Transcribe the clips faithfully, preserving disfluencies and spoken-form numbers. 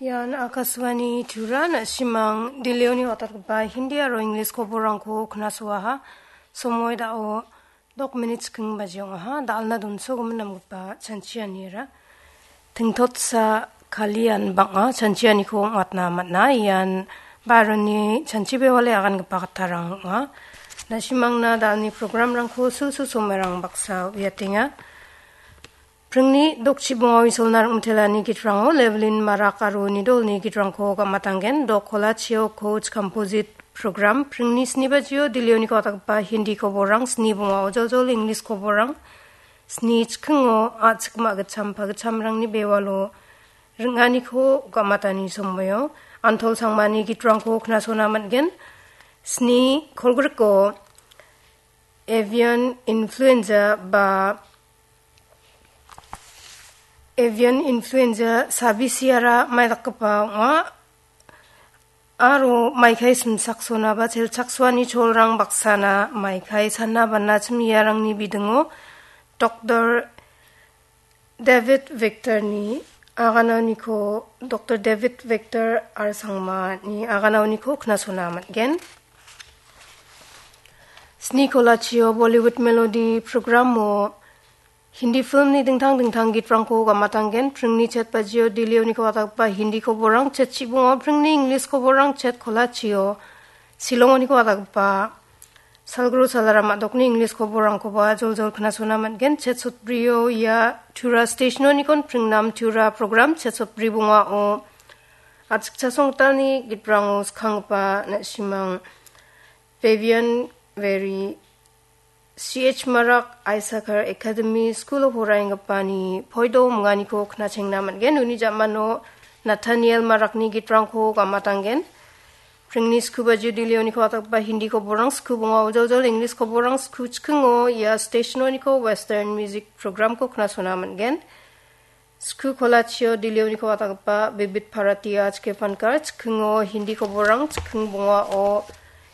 Ian Akashvani Tura, na·simang Delhioni watatgipa Hindi aro English koborrangko knasoaha. Somoi dao dok minit chikking baji ong·aha. Dalna donsogimin namgipa chanchianira. Tingtotsa kalian bang·a chanchianiko ong·atna man·a. Ian baroni chanchi bewale agangipa kattarang ong·a. Na·simangna dalni programrangko sulsul somerang baksa uiatenga. Pringni dokchibonga Isolna rim·itelani gitrango Levelin Marak aro Nidolni gitrangko gamatanggen. Dok kolachio coach composite program. Pringni sni bajio Delhioniko watatgipa Hindi koborrang, sni bongao joljol English koborrang, sni chikingo a·chik ma·gitcham pagitchamrangni bewalo ring·aniko gamatani somoio Antol Sangmani gitrangko knasona man·gen. Sni kolgriko avian influenza ba avian influenza sabisiara maidakgipa ong·a. Aro maikai simsaksona ba chelchaksoani cholrang baksana maikai sana bana chimiarangni bidingo Doktor David Victorni aganauniko, Doktor David Victor R Sangmani aganauniko knasona man·gen. Sni kolachio Bollywood Melody programo Hindi filmni dingtang dingtang gitrangko gamatanggen. Pringni chet bajio Delhioniko watatgipa Hindi koborrang, chet chibongo pringni English koborrang, chet kolachio Shillongoniko watatgipa Salguru Salaram a·dokni English koborrangkoba joljol knasona man·gen. Chet sotbrio ia Tura stationonikon pringnam Tura program, chet sotbri bongao a·chik chasonggitalni gitrango skanggipa na·simang Vivian Very, C H Marak Isakar Academy School of Horainggipani poido minganiko knachengna man·gen. Uni ja·mano Nathaniel Marakni gitrangko gamatanggen. Pringni sku bajio Delhioniko watatgipa Hindi koborrang, sku bongao joljol English koborrang, sku chikingo ia stationoniko Western music programko knasona man·gen. Sku kolachio Delhioniko watatgipa Bibit Bharati H K Pankar, chikingo Hindi koborrang, chiking bongao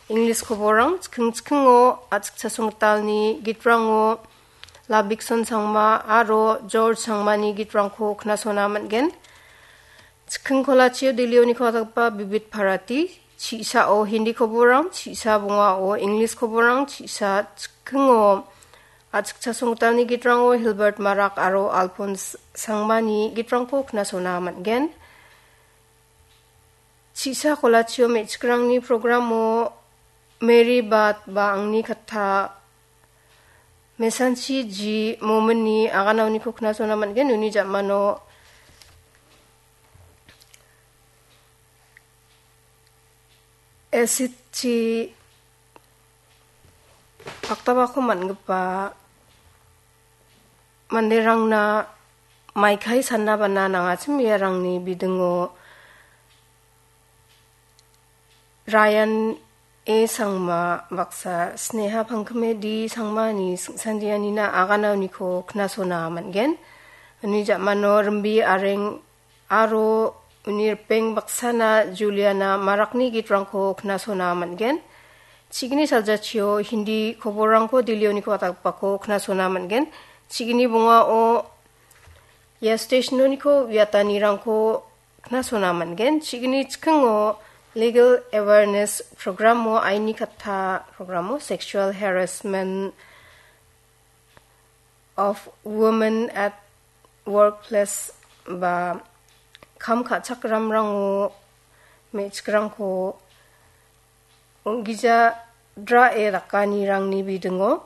English koborrang, chiking chikingo a·chik chasonggitalni gitrango Labikson Sangma aro George Sangmani gitrangko knasona man·gen. Chiking kolachio Delhioniko watatgipa Bibit Bharati, chi·sao Hindi koborrang, chi·sa bongao English koborrang, chi·sa chikingo a·chik chasonggitalni gitrango Hilbert Marak aro Alphonse Sangmani gitrangko knasona man·gen. Chi·sa kolachio me·chikrangni programo Mary Bat ba Angni Katta, Mesanchi G Mominni aganauniko knasona man·gen. Uni ja·mano Esitchi paktabako man·gipa manderangna maikai sanna bana nangachim iarangni bidingo Ryan A Sangma baksa, Sneha Pangkame D Sangmani singsandianina aganauniko knasona man·gen. Uni ja·mano Rimbi Areng aro uni ripeng baksana Juliana Marakni gitrangko knasona man·gen. Chigni saljachio Hindi koborrangko Delhioniko watatgipako knasona man·gen. Chigni bongao ia stationoniko uiatanirangko knasona man·gen. Chigni chikingo legal awareness programo, aini katta programo, sexual harassment of women at workplace ba kam ka·chakramrango me·chikrangko ong·gija drae dakanirangni bidingo